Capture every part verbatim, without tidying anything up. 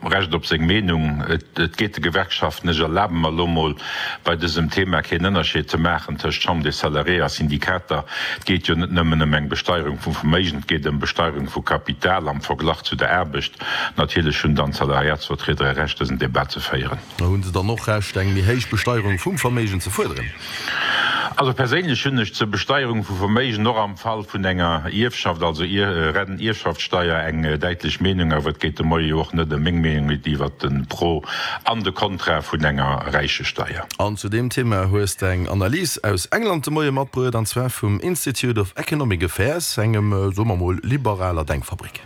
Recht op seng Meenung. Et geet de Gewerkschaften, ech erlabe mer elo mol bei dësem Thema keen Ënnerscheed ze maachen tëscht Chambre des Salariés a Syndikater, et geet jo net nëmmen ëm eng Besteierung vum Verméigen, et geet ëm Besteierung vu Kapital am Verglach zu der Aarbecht. Natierlech hunn dann d'Salariatsvertrieder e Recht, dësen Debat ze féieren. Hu se dann och Recht, eng méi héich Besteierung vum Verméigen ze fuerderen? Also perséinlech hunn ech zur Besteierung vu Verméigen och am Fall vun enger Ierfschaft, also Ierfschaftssteier, eng däitlech Meenung. Awer et geet de Moie jo och net ëm meng Meenung, mee iwwert de Pro an de Kontra vun enger Räichesteier. An zu deem Thema hues de eng Analys aus England de Moie matbruet, an zwar vum Institute of Economic Affairs, engem, soe mer mol, liberaler Denkfabrik.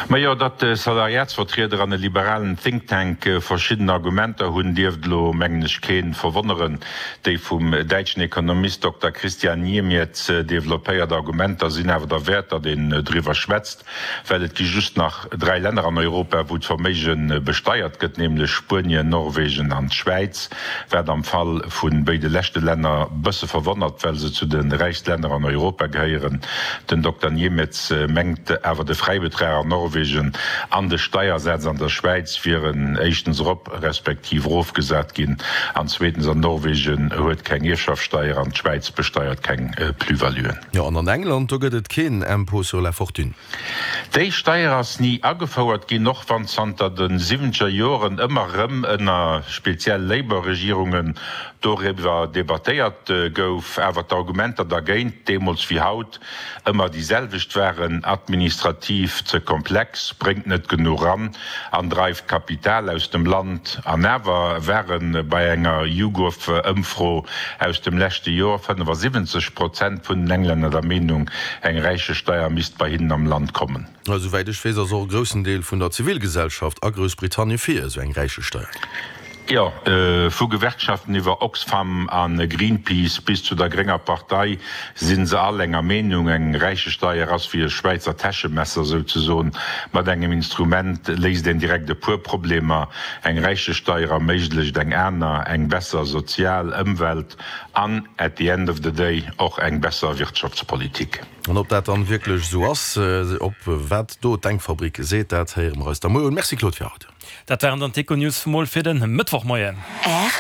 Majo, datt Salariatsvertrieder an e liberalen Think Tank verschidden Argumenter hunn, dierft elo, mengen ech, kee verwonneren. Déi vum däitschen Ekonomist Dokter Christian Niemietz developpéiert Argumenter sinn awer derwäert, datt een driwwer schwätzt, well et gi just nach dräi Länner an Europa, wou d'Verméige besteiert gëtt, nämlech Spuenien, Norwegen an d'Schwäiz, wat am Fall vu béide leschte Länner bësse verwonnert, well se zu de räichst Länner an Europa gehéieren. Den Dokter Niemietz mengt awer, de Fräibetrag an Norwegen an de Steiersaz an der Schwäiz wieren éischtens erop respektiv erofgesat ginn an zweetens an Norwegen huet keng Ierfschaftssteier an d'Schwäiz besteiert keng Plus-valuen. Jo, an an England, do gëtt et keen Impôt sur la fortune. Déi Steier ass ni agefouert ginn, och wann zanter de siwwenzeger Joren ëmmer erëm ënner speziell Labour-Regierungen doriwwer debattéiert gouf, awer d'Argumenter dergéint, deemools wéi haut, ëmmer déi selwecht waren, administrativ ze komplex, bréngt net genuch ran an dreift Kapital aus dem Land. An awer ware bei enger YouGov-Ëmfro aus dem leschte Joer fënnefasiwwenzeg Prozent vun den Englänner der Meenung, eng Räichesteier misst bei hinnen am Land kommen. Esouwäit ech weess, ass och e groussen Deel vun der Zivilgesellschaft a Groussbritannien fir esou eng Räichesteier. Jo, vu Gewerkschaften iwwer Oxfam a Greenpeace bis zu der grénger Partei si se all enger Meenung, Eng Räichesteier ass wéi e Schwäizer Täschemesser souzesoen. Mat engem Instrument léist een direkt e puer Problemer. Eng Räichesteier erméiglecht eng aner, eng besser sozial Ëmwelt an at the end of the day och eng besser Wirtschaftspolitik. An ob dat dann wierklech esou ass, ob wat do d'Denkfabrik seet, dat héiere mer eis da muer un. Merci Claude fir haut. Dat waren dann d'Econews vum Mol fir den Mëttwochmoien. R